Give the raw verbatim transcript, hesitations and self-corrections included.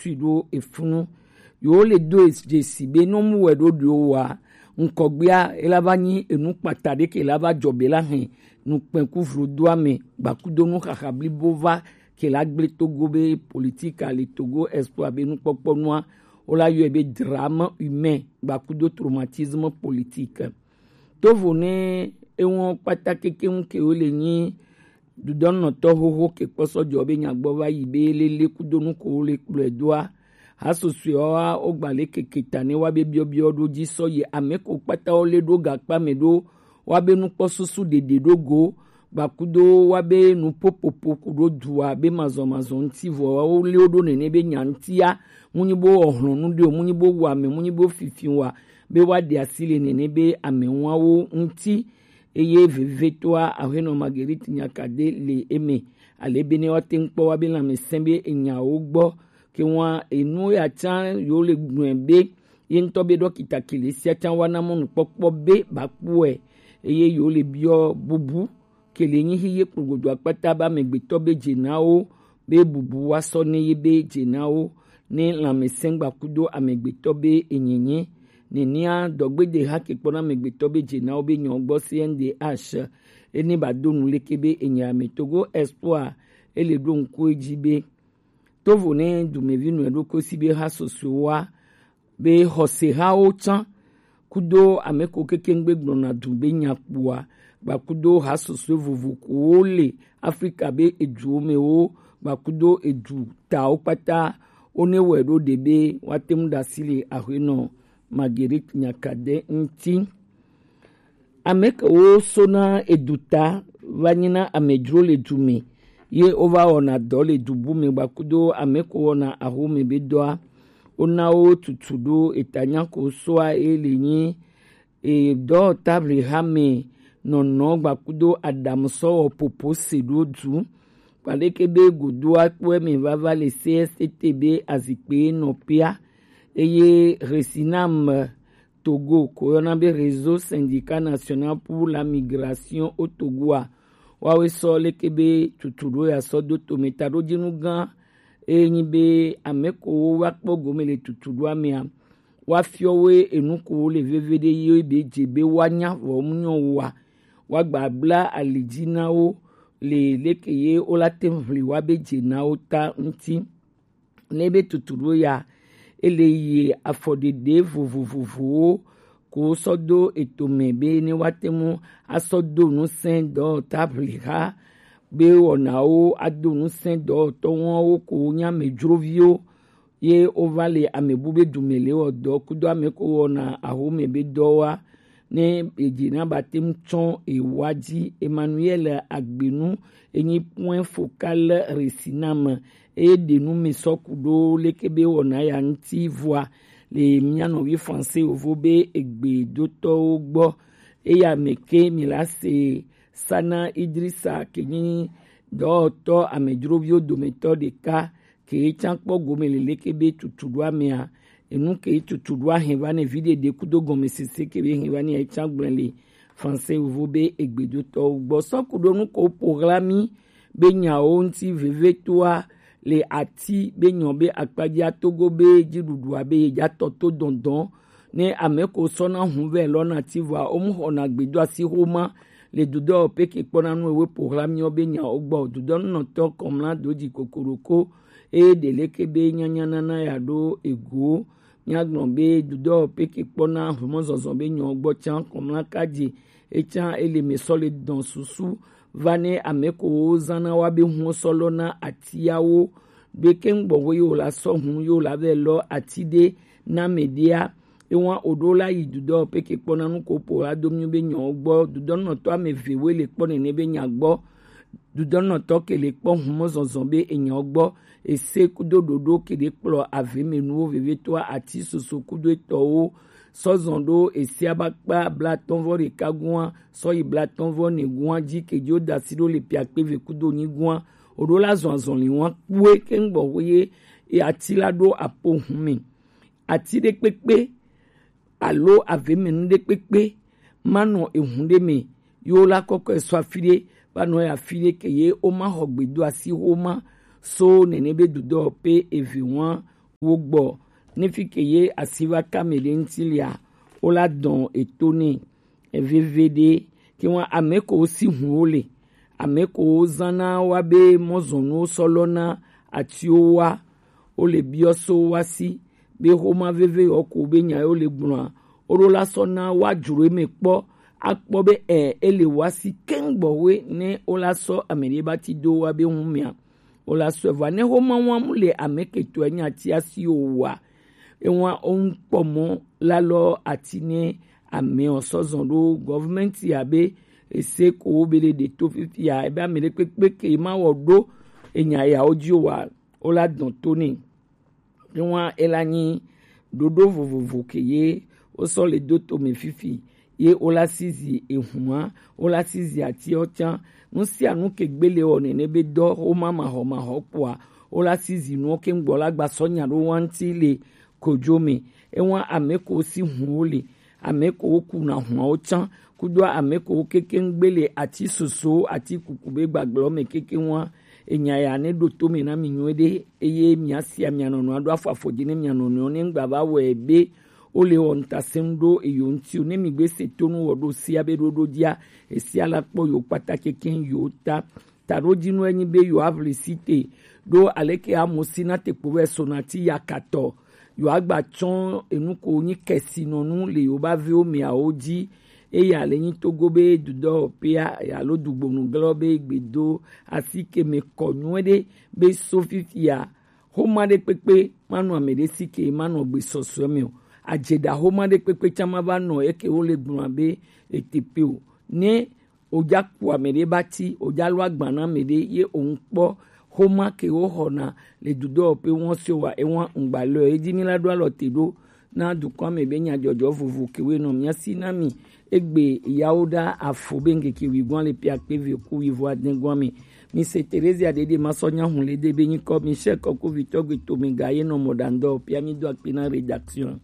sui ɖo efunu. Yewo le do e dzesi be nɔ mu wɛ ɖo ɖo wa ŋkɔgbea e la va nyi enu kpata ɖe ke la va jɔ be la hɛn nukpɛn ku vlo do ame gbakudo nu xaxa blibo va ke la gble Togo be politique a le Togo espoir be nukpɔkpɔ nua wo la yɔe be drame humain gbakudo traumatisme politique. Tovo ne ewɔn kpata kekeŋ ke wo le nyi dudɔnɔtɔ xoxo ke kpɔsɔ jɔ be nyagbɔ va yi be lele kudo nu ko wo le kplɔe doa. Hasosoewa wo gba le keke ta ne wa be biɔbiɔ ɖo dzi sɔ yi ame ko kpata wo le ɖo gakpa me ɖo wa be nukpɔ susu ɖeɖe ɖo go gbakudo wa be nu popopo ku ɖo dua be mazɔmazɔ ŋuti vɔ wo le wo ɖo nene be nya ŋutia mu nyi bo wɔ hlɔnu ɖe o mu nyi bo wɔ ame mu nyi bo fifi wa be wa ɖe asi le nene be ame wawo ŋuti. Eye vevetoa aƒenɔ Marguerite Nyakade le eme ale be ne woate ŋu kpɔ wa be lãmesẽ be enyawo gbɔ ke wa enu ya tsã yewo le gblɔe be ye ŋutɔ be ɖɔkita kele sia tsã wa na mɔnukpɔkpɔ be ba kpɔe eye yewo le biɔ bubu kele nyi hi ye kplogodo akpata be amegbetɔ be dze na wo be bubu wa sɔ ne ye be dze na wo ne lãmesẽ gbakudo amegbetɔ be enyenye. Nenea dɔgbede ha ke kpɔna amegbetɔ be dze na wo be nyɔ gbɔ C N D H ene ba do nu leke be enye ame Togo Espoir ele ɖo ŋku edzi be tovo ne dumevi nɔe ɖo kosi be ha sosoe wa be xɔsehawo tsã kudo ame ko kekeŋgbe gblɔna du be nya kpoa gbakudo ha sosoe vovo kowo le Afrika be eduwo me wo gbakudo edu tawo kpata wo ne wɔe ɖo ɖe be woate ŋu ɖe asi le aƒenɔ Marguerite Nyakade ŋuti. Ame kewo sona eduta va nyina amedzro le du me ye wova wɔna dɔ le du bu me gbakudo ame ko wɔna ahome be dɔa wona wo tutu ɖo eta nya ko soa ye le nyi e dɔ tabli ha me nɔnɔ gbakudo adamu sɔ wɔ popo se ɖo du kpaɖeke be godoa kpɔe me vava le C S T T be azikpe nɔpea eye Resinam Togo ko yɔna be Réseau Syndicat National pour la Migration au Togo a wawe sɔ leke be tutu ɖo ya sɔ do tome taɖodzinu gã eye nyi be ame ko wo wa kpɔ gome le tutu ɖoa mea wa fiɔ wo enu ko wo le veve ɖe ye be dze be wa nya vɔ mu nyɔ wa wa gba bla ali dzi na wo le leke ye wo la te ŋu ʋli wa be dze na wo ta ŋuti. Ne be tutu ɖo ya ele yi afɔɖeɖe vovovovowo ko sɔ do etome be ne woate ŋu asɔ do ŋusẽ dɔwɔta ʋliha be wɔnawo ado ŋusẽ dɔwɔtɔwo ko nye amedzroviwo ye wova le amebu be dume le wɔ dɔ kudo ame ko wɔna ahome be dɔwoa ne edzi na ba te ŋu tsɔ ewa dzi. Emmanuel Agbenu enyi point focal resinam eye ɖe nu mi sɔ ku ɖo leke be wɔna ya ŋuti vɔa le mía nɔvi français yovo be egbedotɔwo gbɔ eya me ke mi la se sana Idrisa ke nyi dɔwɔtɔ amedzroviwo dometɔ ɖeka ke tsã kpɔ gome le leke be tutu ɖo amea enu ke tutu ɖo ahe va ne vi ɖeɖe kudo gɔmesese ke be he va ne ya tsã gblẽ le français yovo be egbedotɔwo gbɔ sɔ ku ɖo nu ko ƒo ɣla mi be nyawo ŋuti vevetoa le ati be nyɔ be akpadzia togo be dziɖuɖua be yedza tɔ to dɔndɔn ne ame ko sɔna hun vɛ lɔ na ti vɔa wo mu xɔna gbedo asi xoma le dudɔ peke kpɔna nu ewe ƒo ɣla miɔ be nyawo gbɔ dudɔ nunɔtɔ kɔmla do dzi kokoroko eye ɖe leke be nyanya nana ya ɖo ego. Míagblɔ be dudɔ peke kpɔna humɔzɔzɔ be nyɔ gbɔ tsã kɔmla kadzi etsã ele me sɔ le dɔn susu va ne ame ko wo zana wa be hun sɔ lɔ na atiawo be ke ŋgbɔ wo yo la sɔ hun yo la vɛ lɔ ati ɖe na me ɖia ewa o ɖo la yi dudɔ peke kpɔna nu ko po la do mi be nyɔ gbɔ dudɔ nɔtɔ ame ve we le kpɔ nene be nya gbɔ dudɔnɔtɔ ke le kpɔ humɔzɔzɔ be enyɔ gbɔ ese kudo ɖoɖo ke ɖe kplɔ avemenuwo vevetoa ati soso kudo etɔwo sɔzɔn ɖo esia ba kpa blatɔnvɔ ɖeka gua sɔ yi blatɔnvɔ ne gua dzi ke dzi wo da asi ɖo le piakpe ve kudo nyi gua o ɖo la zɔn azɔli wa kpue ke ŋgbɔ wo ye ati la ɖo apo hun me ati ɖe kpekpe alo avemenu ɖe kpekpe manɔ ehun ɖe me yo la kɔkɔe sɔ afi ɖe va nɔ ya afi ɖe ke ye wo ma xɔ gbedo asi wo ma so nene be dudɔ pe eve wa wo gbɔ, ne fi ke ye asi va ka mɛ ɖe ŋuti lea, wo la dɔn eto nɛ. Eveve ɖe ke wa ame ko si hun wo le, ame ko zana wa be mɔzɔnuwo sɔ lɔ na atiwo wa, wo le biɔ so wa si be xoma veve yɔ ko be nya yo le gblɔa, wo ɖo la sɔ na wa dzro eme kpɔ, akpɔ be ɛ ele wa si keŋ gbɔwe ne wo la sɔ ame ɖe ba ti do wa be hun mia. Wo la sɔ va ne xoma wa mu le ame ke tɔ nya ti asi o wa. Ewa o ŋkpɔ mɔ la lɔ ati ne ame o sɔ zɔn ɖo gɔvmɛnti abe ese ko wo be le ɖe to fifia ebe ame ɖe kpekpe ke ma wɔ ɖo enya ya wo dzi o wa, wo la dɔn to ne. Ewa ela nyi ɖoɖo vovovo ke ye wo sɔ le do to me fifi, ye wo la si zi ehua, wo la si zi atiɔ tsã. Nu sia nu ke gbele wɔ nene be dɔ wo ma ma xɔ ma xɔ kpoa, wo la si zi nuɔ ke ŋgbɔ la gba sɔ nya ɖo wa ŋuti le kodzo me. Ewa ame ko si hun wo le, ame ko wo kuna hua wo tsã, kudo ame ko wo keke ŋgbe le ati soso, ati kuku be gbagblɔ me keke wa. Enya ya ne ɖo to me na mi nyuie ɖe, eye mia sia mia nɔnɔ aɖo afɔ afɔ dzi ne mia nɔnɔ ne ŋgba va wɔe be wo le wɔ ŋutasem ɖo eyo ŋuti o. Ne mi gbe se to nu wɔ ɖo sia be ɖoɖo dzia, esia la kpɔ yo kpata keke yo ta. Taɖodzinue nyi be yo avli si te ɖo aleke amosi na te kpo vɛ so na ti yakatɔ. Yo agba tsɔ enu ko nyi kɛsinɔnu le yo ba viwo miawo dzi. Eya le nyi togo be dudɔ pea alo dugbonu glɔ be gbedo asi ke me kɔ nyuie ɖe be so fifia xoma ɖe kpekpe manɔ ame ɖe si ke manɔ gbe sɔsɔe me o. Adzeɖa xoma ɖe kpekpe tsã ma va nɔ eke wo le gblɔ be etepe o. Ne oja ku ame ɖe ba ti oja lo agba na ame ɖe ye o ŋkpɔ xoma ke wo xɔna le dudɔ pe wɔn se wa ewa ŋgba lɔ edzi mi la ɖo alɔ te ɖo na dukɔ ame be nyadzɔdzɔ vovo ke wo nɔ mia si na mi. Egbe yawo ɖa afo be ŋkeke wi gɔn le pia kpe ve ku wi vo adin gɔn mi. Mi se Terezia ɖeɖe ma sɔ nya hun le de be nyikɔ mi se kɔku vitɔ gbe to mi ga ye nɔ mɔ ɖa ŋdɔ pia mi do akpe na rédaction.